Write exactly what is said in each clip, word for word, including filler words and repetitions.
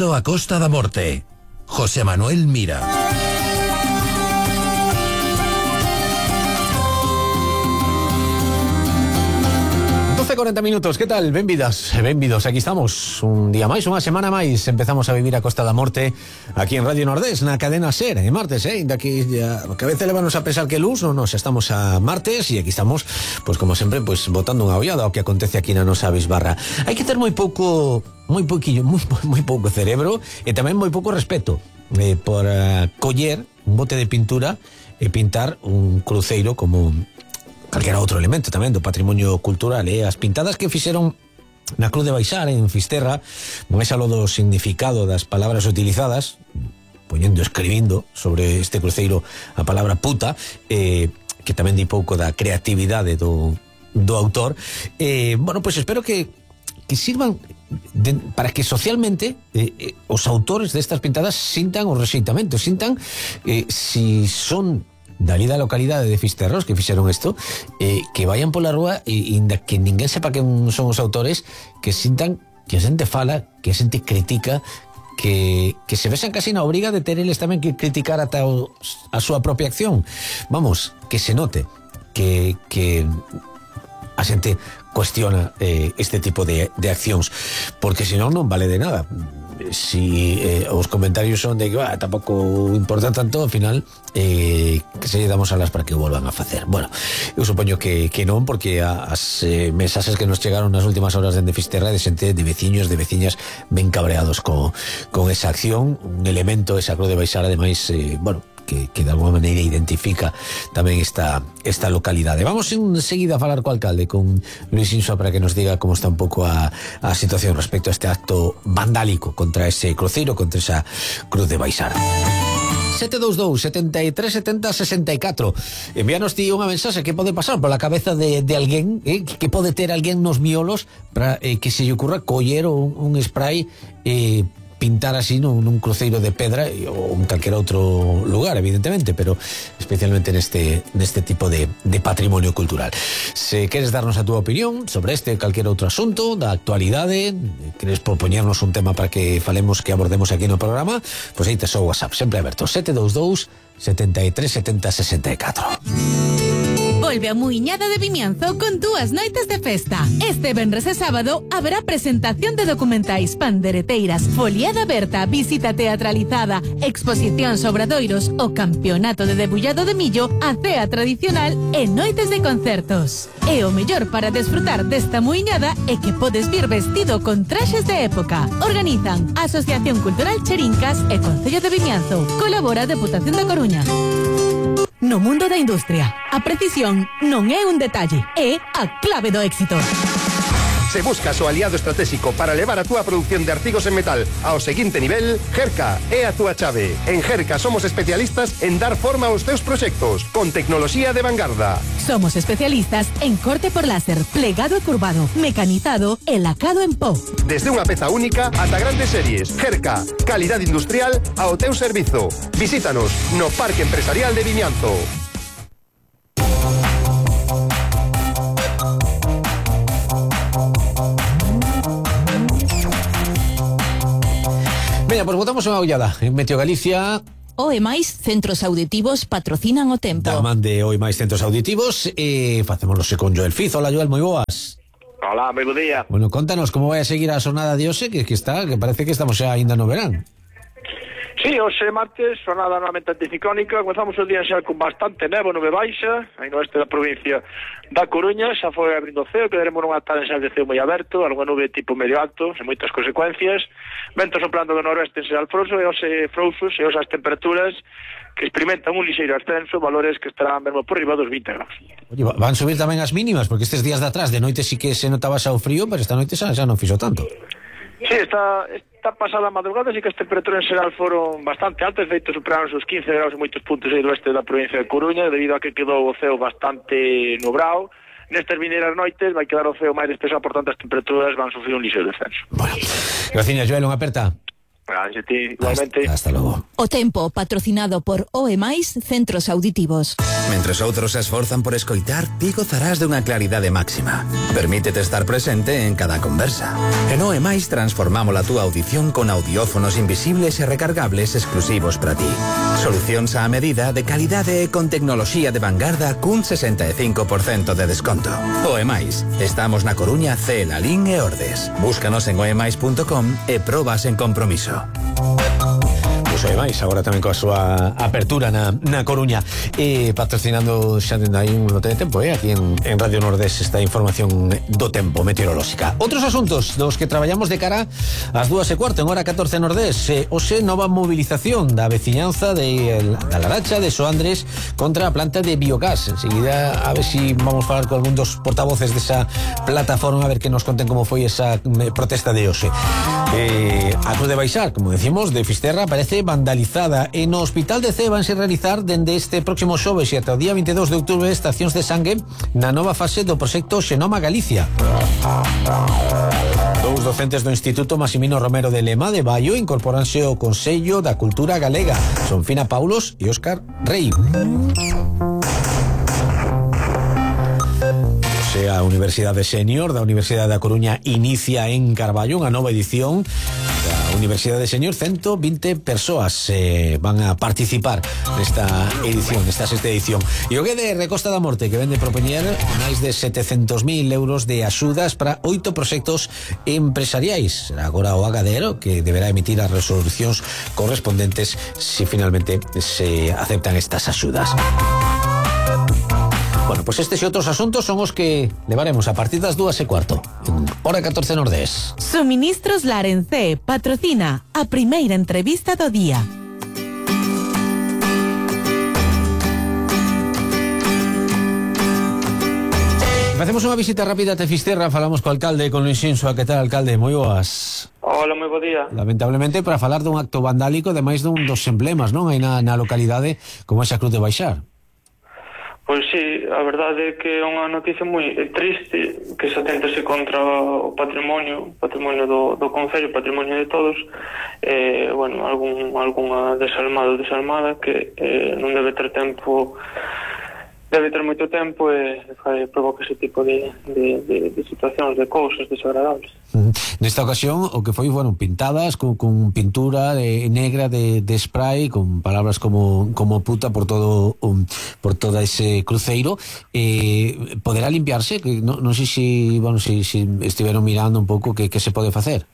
Benvido a Costa da Morte. José Manuel Mira. doce cuarenta minutos, que tal? Benvidas, benvidos, aquí estamos un día máis, unha semana máis. Empezamos a vivir a Costa da Morte aquí en Radio Nordés, na cadena SER, en martes, eh? Daqui ya, que a veces levanos a pensar que luz, non, non, xa estamos a martes e aquí estamos, pues como sempre, pues botando unha ollada ao que acontece aquí na nosa bisbarra. Hai que ter moi pouco, moi pouquillo, moi, moi pouco cerebro e tamén moi pouco respeto eh, por uh, coller un bote de pintura e pintar un cruceiro como calquera outro elemento tamén do patrimonio cultural, eh? As pintadas que fixeron na Cruz de Baixar en Fisterra, máis aló do significado das palabras utilizadas, poñendo, escribindo sobre este cruceiro a palabra puta, eh, que tamén di pouco da creatividade do, do autor, eh, bueno, pois pues espero que que sirvan de, para que socialmente eh, eh, os autores destas pintadas sintan o rexeitamento, sintan eh, si son dali da localidade de Fisterros que fixeron isto, eh, que vayan pola rúa e, e que ninguén sepa que son os autores, que sintan que a xente fala, que a xente critica, que, que se vexan casi na obriga de ter eles tamén que criticar ata o, a súa propia acción. Vamos, que se note que, que a xente cuestiona eh, este tipo de, de accións, porque senón non vale de nada. Si eh, os comentarios son de que bah, tampouco importa tanto, ao final eh, que se lle damos alas para que o volvan a facer. Bueno, eu supoño que, que non, porque as eh, mensaxes que nos chegaron nas últimas horas dende Fisterra de xente, de veciños, de veciñas ben cabreados co, con esa acción, un elemento, esa Cruz de Baixar, ademais, eh, bueno, que, que de alguma maneira identifica tamén esta, esta localidade. Vamos enseguida a falar co alcalde, con Luis Insua, para que nos diga como está un pouco a, a situación respecto a este acto vandálico contra ese cruceiro, contra esa Cruz de Baixar. sete dous dous, setenta e tres, setenta, sesenta e catro. Envíanos ti unha mensaxe que pode pasar pola cabeza de, de alguén, eh, que pode ter alguén nos miolos para eh, que se lle ocurra coller un, un spray e eh, pintar así nun, nun cruceiro de pedra ou en calquer outro lugar, evidentemente, pero especialmente neste, neste tipo de, de patrimonio cultural. Se queres darnos a túa opinión sobre este ou calquer outro asunto da actualidade, queres propoñernos un tema para que falemos, que abordemos aquí no programa, pois aí tes o WhatsApp, sempre aberto, sete dous dous, setenta e tres, setenta, sesenta e catro. Volve a Muiñada de Vimianzo con dúas noites de festa. Este venres e sábado haberá presentación de documentais, pandereteiras, foliada aberta, visita teatralizada, exposición sobre obradoiros, o campeonato de debullado de millo, a cea tradicional e noites de concertos. E o mellor para desfrutar desta muiñada é que podes vir vestido con traxes de época. Organizan Asociación Cultural Cherincas e Concello de Vimianzo. Colabora a Deputación da Coruña. No mundo da industria, a precisión non é un detalle, é a clave do éxito. Se buscas o aliado estratégico para levar a túa produción de artigos en metal ao seguinte nivel, Gerca é a túa chave. En Gerca somos especialistas en dar forma aos teus proxectos, con tecnoloxía de vanguarda. Somos especialistas en corte por láser, plegado e curvado, mecanizado e lacado en pó. Desde unha peza única ata grandes series. Gerca, calidad industrial ao teu servizo. Visítanos no Parque Empresarial de Vimianzo. Veña, pois botamos unha ollada en Meteo Galicia. O e máis centros auditivos patrocinan o tempo. Da man de O e máis centros auditivos e facémoslo con Joel Fiz. Hola, Joel, moi boas. Hola, moi bo día. Bueno, contanos como vai a seguir a xornada de hoxe, que, que está, que parece que estamos xa ainda no verán. Sí, hoxe martes, xornada normalmente anticiclónica. Comezamos o día xa con bastante nevo, nube baixa, aí no oeste da provincia da Coruña. Xa foi abrindo o ceo, quedaremos nunha tarde xa de ceo moi aberto, algunha nube tipo medio alto, sen moitas consecuencias. Vento soplando do noroeste en Serral Frouxo e hoxe frouxos e hoxe as temperaturas que experimentan un lixeiro ascenso, valores que estarán mesmo por riba dos vinte graus. Oye, van subir tamén as mínimas, porque estes días de atrás de noite sí que se notaba xa o frío, pero esta noite xa, xa non fixo tanto. Sí, esta, esta pasada madrugada sí que as temperaturas en xeral foron bastante altas, de feito superaron os quince graus en moitos puntos aí do oeste da provincia de Coruña, debido a que quedou o ceo bastante nubrado. Nestas vineiras noites vai quedar o ceo máis despexado, por tanto as temperaturas van sufrir un lixeiro descenso. Bueno, graciña, Joel, unha aperta. Gracias a ti, igualmente. Hasta, hasta logo. O tempo, patrocinado por O E máis Centros Auditivos. Mentres outros se esforzan por escoitar, ti gozarás de unha claridade máxima. Permítete estar presente en cada conversa. En O E máis transformamos a túa audición con audiófonos invisibles e recargables exclusivos para ti. Solucións á medida, de calidade e con tecnoloxía de vanguarda cun sesenta e cinco por cento de desconto. O E máis. Estamos na Coruña, Cee, Lalín e Ordes. Búscanos en oemais punto com e probas en compromiso. Pois O E máis, agora tamén coa súa apertura na, na Coruña, e patrocinando xa dende aí un lote de tempo, eh? Aquí en, en Radio Nordés, esta información do tempo meteorolóxica. Outros asuntos dos que traballamos de cara ás dúas e cuarto en hora catorce Nordés. eh, Oxe, nova movilización da veciñanza de el, da Laracha, de Soandres, contra a planta de biogás. Enseguida a ver si vamos a falar con algún dos portavoces desa plataforma, a ver que nos conten como foi esa eh, protesta de Oxe. eh, A Cruz de Baixar, como decimos, de Fisterra, parece vandalizada. E no Hospital de Cee vanse realizar dende este próximo xoves e ata o día veintidós de outubro estacións de sangue na nova fase do proxecto Xenoma Galicia. Dous docentes do Instituto Maximino Romero de Lema de Baio incorporanse ao Consello da Cultura Galega. Son Fina Paulos e Óscar Rei. A Universidade Senior da Universidade da Coruña inicia en Carballo unha nova edición da Universidade Senior. Ciento veinte persoas eh, van a participar nesta edición, nesta sexta edición. E o que de Recosta da Morte, que vende propoñer máis de setecentos mil euros de axudas para oito proxectos empresariais. Será agora o Agadero que deberá emitir as resolucións correspondentes se finalmente se aceptan estas axudas. Bueno, pois pues estes e outros asuntos son os que levaremos a partir das dúas e cuarto en hora catorce Nordés. Suministros Larencé patrocina a primeira entrevista do día. Facemos unha visita rápida a Fisterra, falamos co alcalde, con Luis Xinsoa. Que tal, alcalde? Moi boas. Hola, moi bo día. Lamentablemente, para falar dun acto vandálico de máis dun dos emblemas, non? Hai na, na localidade como esa Cruz de Baixar. Pois sí, a verdade é que é unha noticia moi triste, que se atentase contra o patrimonio, patrimonio do, do Concello, patrimonio de todos, eh, bueno, algún, algunha desalmada ou desalmada que eh, non debe ter tempo, debe ter moito tempo e eh, provoca ese tipo de, de, de, de situacións, de cousas desagradables. Uh-huh. Nesta ocasión, o que foi, bueno, pintadas con, con pintura de, negra de, de spray, con palabras como, como puta por todo um, por todo ese cruceiro. Eh, poderá limpiarse? Que non, non sei se, bueno, si, si estiveron mirando un pouco que, que se pode facer.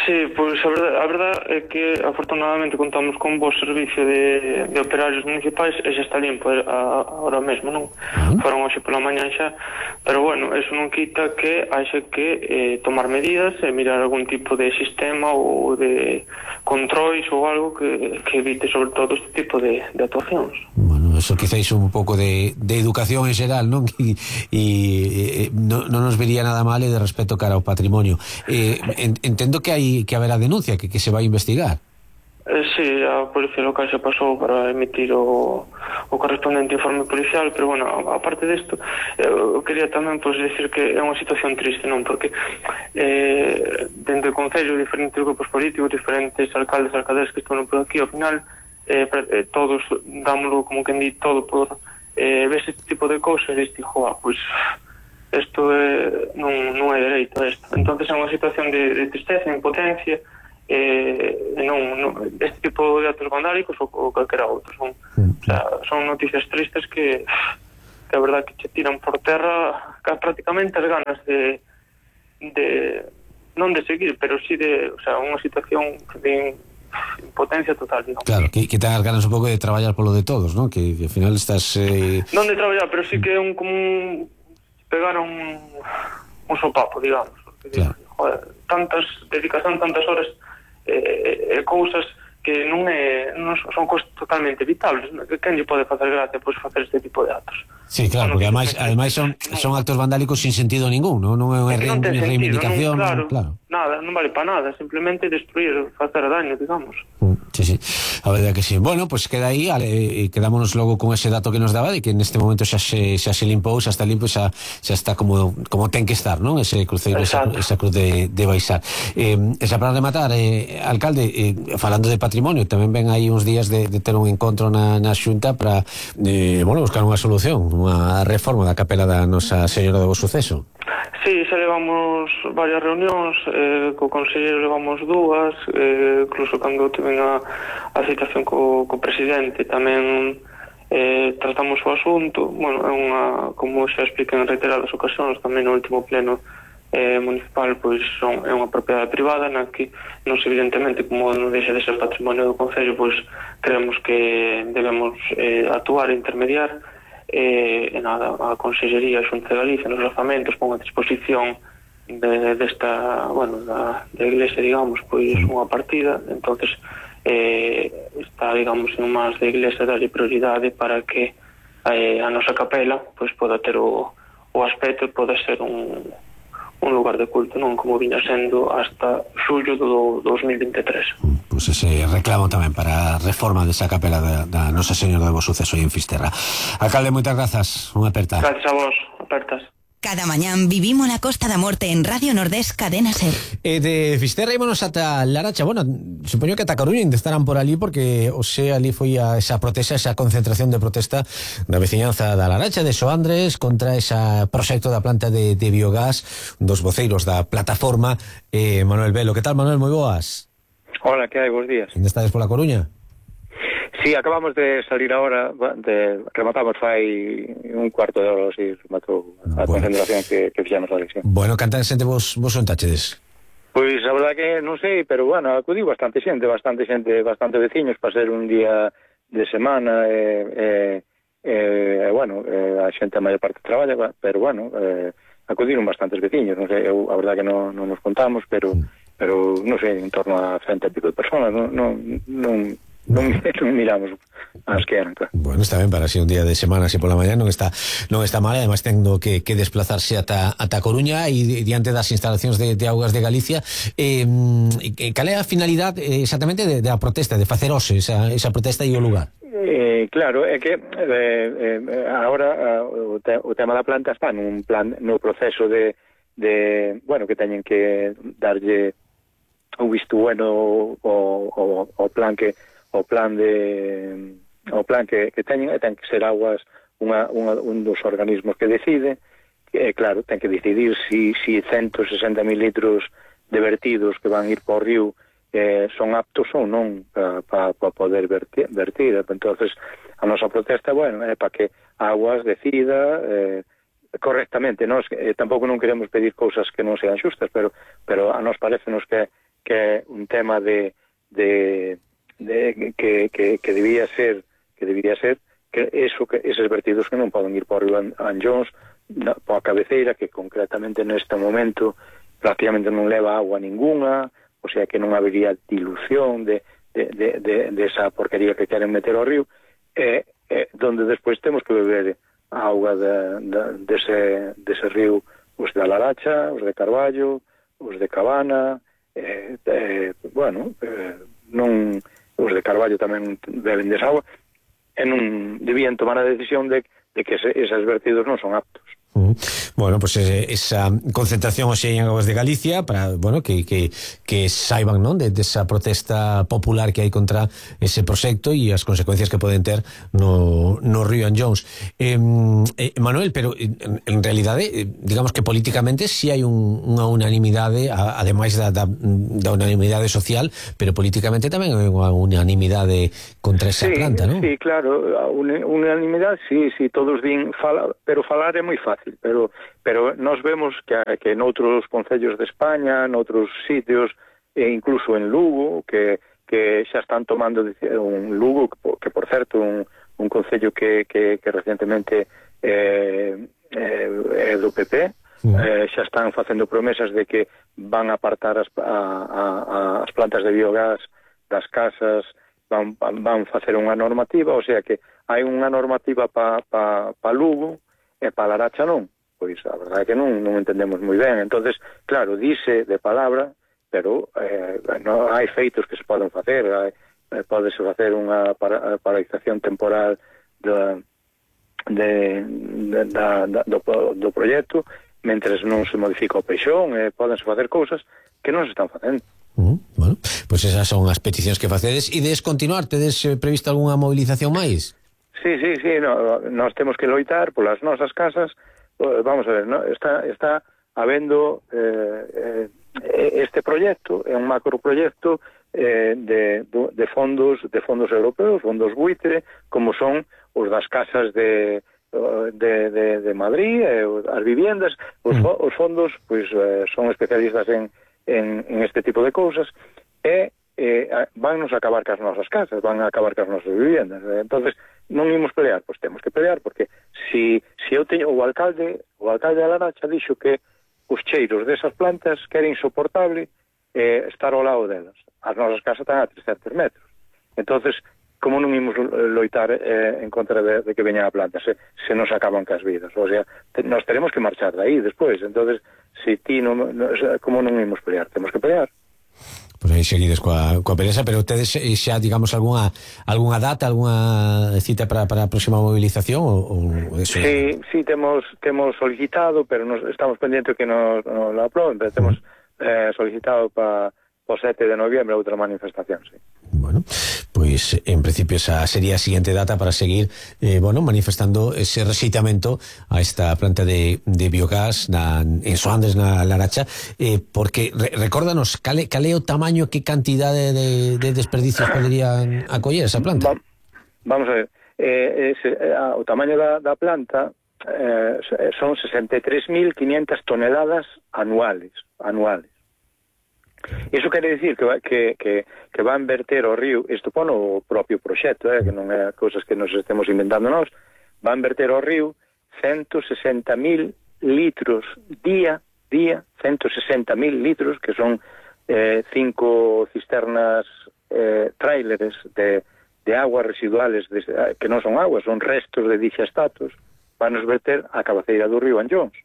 Sí, pois a verdade, a verdade é que afortunadamente contamos con un bo servicio de, de operarios municipais e xa está limpo a, a, ahora mesmo, non? Uh-huh. Foron hoxe pola mañan xa, pero bueno, eso non quita que haxe que eh, tomar medidas e mirar algún tipo de sistema ou de controis ou algo que, que evite sobre todo este tipo de, de actuacións. Bueno, eso quizáis un pouco de, de educación en xeral, non? E, e, e non, non nos vería nada mal e de respeto cara ao patrimonio. Eh, en, entendo que hai que haberá denuncia, que, que se vai a investigar. Eh, sí, a Policía Local xa pasou para emitir o, o correspondente informe policial, pero bueno, aparte desto, eu quería tamén pues, decir que é unha situación triste, non? Porque eh, dentro do Concello, diferentes grupos políticos, diferentes alcaldes, alcaldes que están por aquí, ao final, eh, eh, todos dámoslo como que di todo por eh, ves este tipo de cousas e diste, joa, pois... isto é, non, non é dereito a isto. Entonces é unha situación de, de tristeza, impotencia, eh, non, non, este tipo de actos vandálicos ou, ou calquera outro. Son, o sea, son noticias tristes que, que a verdad que che tiran por terra prácticamente as ganas de, de non de seguir, pero sí de, o sea, unha situación de impotencia total, digamos. Claro, que, que te hagas ganas un pouco de traballar polo de todos, ¿no? Que, que ao final estás... Eh... Non de traballar, pero sí que é un como un pegar un, un sopapo, digamos. Porque, claro. Joder, tantas dedicación, tantas horas e eh, eh, cousas que non é non son cosas totalmente evitables, que quen lle pode facer gracia pois facer este tipo de actos. Sí, claro, porque ademais, ademais son, son actos vandálicos sin sentido ningún, non, non é unha non ten reivindicación, sentido, non, claro, claro. Nada, non vale para nada, simplemente destruir, facer daño, digamos. Sí, sí, a verdade que sí. Bueno, pues queda aí, e quedámonos logo con ese dato que nos daba de que neste momento xa se, xa se limpou, xa está limpo, xa, xa está como, como ten que estar, non? Ese cruceiro, esa, esa cruz de, de Baixar. Eh, esa para rematar, eh, alcalde, eh, falando de patrimonio, tamén ven aí uns días de, de ter un encontro na, na Xunta para, eh, bueno, buscar unha solución, unha reforma da capela da Nosa Señora do Bo Suceso. Sí, xa levamos varias reunións, eh, co conselleiro levamos dúas, eh, incluso cando tiven a, a citación co, co presidente tamén eh, tratamos o asunto. Bueno, é unha, como xa expliquei en reiteradas ocasións, tamén no último pleno eh, municipal, pois son, é unha propiedade privada na que nos evidentemente, como non deixa de ser patrimonio do concello, pois creemos que debemos eh, actuar e intermediar. E, e nada, a Consellería, a Xunta de Galicia nos orzamentos pon a disposición de, desta, bueno, da, da Iglesia, digamos, pois unha partida, entonces eh, está, digamos, en máis da Iglesia darlle prioridade para que eh, a nosa capela pois poda ter o, o aspecto e poda ser un, un lugar de culto, non como viña sendo hasta xullo do dos mil veintitrés. Pois pues ese reclamo tamén para a reforma desa capela da, da Nosa Señora do Bo Suceso en Fisterra. Alcalde, moitas grazas, unha aperta. Gracias a vos, apertas. Cada mañán vivimos la Costa da Morte en Radio Nordés Cadena Ser. E de Fisterra ímonos ata Laracha. Bueno, supoño que ata Coruña ainda estarán por ali porque o sea, ali foi a esa protesta, esa concentración de protesta da veciñanza da Laracha, de Soandres, contra ese proxecto da planta de, de biogás dos voceiros da plataforma. eh, Manuel Velo, que tal, Manuel? Moi boas. Hola, que hai? Bos días. Ainda estades pola Coruña? Sí, acabamos de salir ahora, de, rematamos fai un cuarto de hora, así, rematou a bueno. concentración que, que fixamos a elección. Bueno, canta xente vos, vos son tachedes? Pois a verdade que non sei, pero bueno, acudiu bastante xente, bastante xente, bastante veciños para ser un día de semana, e, e, e bueno, e, a xente a maior parte traballa, pero bueno, e, acudiron bastantes veciños, non sei, eu a verdade que non, non nos contamos, pero... Mm. pero non sei, en torno a cento e pico de personas, non, non, non, non, non miramos as que eran, claro. Bueno, está ben para ser un día de semana, así pola mañá non está non está mal, además tendo que, que desplazarse ata, ata Coruña e diante das instalacións de, de Augas de Galicia. eh, cal é a finalidade exactamente de, de a protesta, de facer hoxe esa, esa protesta e o lugar? Eh, claro, é que eh, eh, agora o, te, o tema da planta está nun plan, no proceso de, de bueno, que teñen que darlle o visto bueno o, o, o plan que o plan de o plan que, que teñen, e ten que ser Augas unha, unha, un dos organismos que decide, que claro, ten que decidir si, si ciento sesenta mil litros de vertidos que van ir por río eh, son aptos ou non para pa, pa poder vertir, vertir. Entonces a nosa protesta, bueno, é para que Augas decida eh, correctamente. Nos eh, tampouco non queremos pedir cousas que non sean xustas, pero pero a nos parecenos que que é un tema de, de, de que, que, que debía ser que debía ser que eso que esos vertidos que non poden ir por Río Anllóns, por a cabeceira, que concretamente neste momento prácticamente non leva agua ninguna, o sea que non habería dilución de, de, de, de, de esa porquería que queren meter ao río, e eh, donde despois temos que beber a auga de, de, dese, dese río, os de Laracha, os de Carballo, os de Cabana. Eh, eh, bueno, eh, non, os de Carballo tamén beben desa agua, e non debían tomar a decisión de, de que ese, esos vertidos non son aptos. Uh, bueno, pues eh, esa concentración hoxe en Augas de Galicia para, bueno, que, que, que saiban, non, de, de esa protesta popular que hai contra ese proxecto e as consecuencias que poden ter no, no Río Anllóns. eh, eh, Manuel, pero en, en realidade eh, digamos que políticamente si sí hai un, unha unanimidade, a, ademais da, da, da unanimidade social, pero políticamente tamén hai unha unanimidade contra esa sí, planta, non? Sí, claro, a unanimidade, sí, sí, todos din, fala, pero falar é moi fácil. Pero pero nós vemos que, que noutros concellos de España, noutros sitios, e incluso en Lugo, que, que xa están tomando un Lugo, que por certo un, un concello que, que, que recientemente eh, eh, é do P P, sí. eh, xa están facendo promesas de que van a apartar as, a, a, a, as plantas de biogás das casas van, van facer unha normativa, o sea que hai unha normativa para pa, pa Lugo e para Laracha non. Pois a verdade é que non, non entendemos moi ben. Entonces, claro, dice de palabra, pero eh, non hai feitos que se poden facer, hai, eh, podese facer unha para, paralización temporal da, de, de, da, da, do, do proxecto, mentres non se modifica o peixón, eh, podense facer cousas que non se están facendo. Uh, bueno, pois pues esas son as peticións que facedes. E des continuar, tedes eh, previsto algunha movilización máis? Sí, sí, sí, no, nós temos que loitar polas nosas casas. Vamos a ver, ¿no? está está habendo eh, eh, este proxecto, é un macroproxecto eh, de, de fondos de fondos europeos, fondos buitre, como son os das casas de de, de, de Madrid, eh, as viviendas, os, mm. os fondos pois eh, son especialistas en, en, en este tipo de cousas e eh, van nos acabar cas nosas casas, van a acabar cas nosas viviendas. Entonces, non imos pelear, pois temos que pelear, porque si, si eu teño o alcalde, o alcalde de Laracha dixo que os cheiros desas plantas que era insoportable eh, estar ao lado delas. As nosas casas están a trescentos metros. Entonces, como non imos loitar eh, en contra de, de que veña a planta, se, se nos acaban cas vidas? O sea, te, nos tenemos que marchar de aí despois. Entonces, si ti non, no, como non imos pelear? Temos que pelear. Pois aí seguides coa, coa pelesa, pero tedes xa, digamos, algunha algunha data, algunha cita para, para a próxima movilización? Ou, ou eso? Sí, sí, temos temos solicitado, pero nos estamos pendientes que nos, nos lo aproben, pero temos uh-huh. eh, solicitado para o sete de noviembre outra manifestación, sí. Bueno, pois en principio esa sería a siguiente data para seguir eh, bueno, manifestando ese rexeitamento a esta planta de, de biogás na, en Soandres, na Laracha, eh, porque re, recórdanos, cale, cale o tamaño, que cantidade de, de desperdicios poderían acoller esa planta? Va, vamos a ver, eh, ese, eh, o tamaño da, da planta eh, son sesenta e tres mil quinientas toneladas anuales, anuales. Iso quere dicir que, que, que, que van verter ao río, isto pon o propio proxecto, eh, que non é cousas que nos estemos inventando nós, van verter ao río ciento sesenta mil litros día, día, ciento sesenta mil litros, que son eh, cinco cisternas eh, tráileres de, de aguas residuales, de, que non son aguas, son restos de dixestatos, van nos verter a cabeceira do río Anllóns.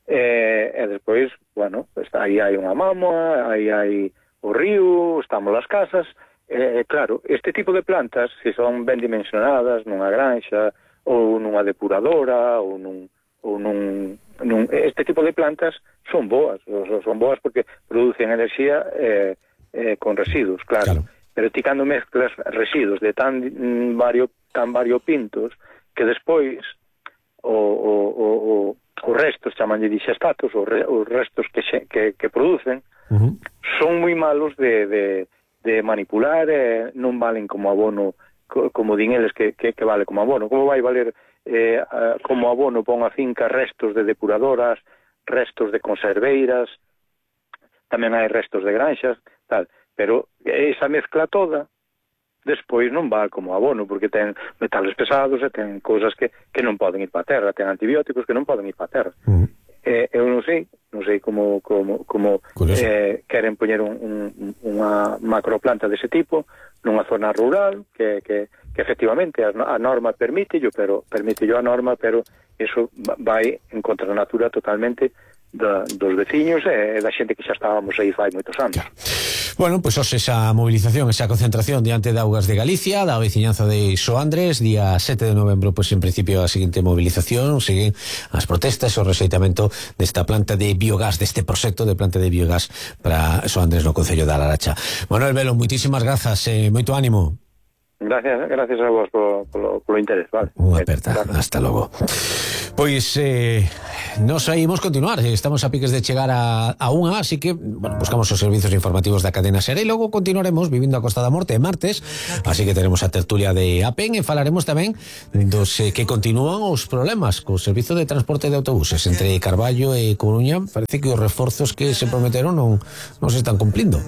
E, e despois, bueno, pues, aí hai unha mámoa, aí hai o río, estamos as casas, e, claro, este tipo de plantas, se son ben dimensionadas nunha granxa, ou nunha depuradora, ou nun, ou nun, nun este tipo de plantas son boas, son boas porque producen enerxía eh, eh, con residuos, claro, claro. Pero ti cando mezclas residuos de tan mm, vario, tan variopintos, que despois o, o, o, o os restos, chaman de dixestatos, os, re, os restos que, xe, que, que producen, uh-huh. son moi malos de, de, de manipular, eh, non valen como abono, co, como din eles que, que, que vale como abono. Como vai valer eh, como abono para unha finca restos de depuradoras, restos de conserveiras, tamén hai restos de granxas, tal, pero esa mezcla toda despois non va como abono, porque ten metales pesados e ten cousas que, que non poden ir para a terra, ten antibióticos que non poden ir para a terra. Uh-huh. Eh, eu non sei, non sei como, como, como eh, queren poñer un, un, unha macroplanta dese tipo nunha zona rural, que, que, que efectivamente a, a norma permítello, pero permítello a norma, pero eso vai en contra da natura totalmente da, dos veciños e da xente que xa estábamos aí fai moitos anos. Claro. Bueno, pois pues, esa movilización, esa concentración diante de Augas de Galicia, da veciñanza de Soandres, día sete de novembro, pois pues, en principio a seguinte movilización, seguen as protestas, o rexeitamento desta planta de biogás, deste proxecto de planta de biogás para Soandres no Concello da Laracha. Manuel Velo, moitísimas grazas, eh, moito ánimo. Gracias, gracias a vos polo, polo, polo interés, vale. Unha aperta, claro. Hasta logo. Pois eh, nos ímos continuar, estamos a piques de chegar a, a unha, así que bueno, buscamos os servizos informativos da cadena SER e logo continuaremos vivindo a Costa da Morte martes, así que teremos a tertulia de APEN e falaremos tamén dos eh, que continúan os problemas co servizo de transporte de autobuses entre Carballo e Coruña. Parece que os reforzos que se prometeron non, non se están cumplindo.